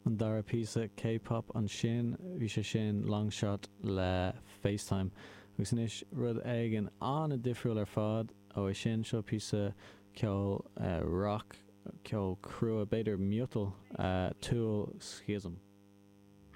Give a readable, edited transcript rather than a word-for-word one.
An dara píosa K-pop ansin, bhí sé sin Longshot le FaceTime. Agus anois rud éigin an-difriúil ar fad ó é sin, seo píosa ceoil rock, ceol crua, b'fhéidir miotal, Tool Schism.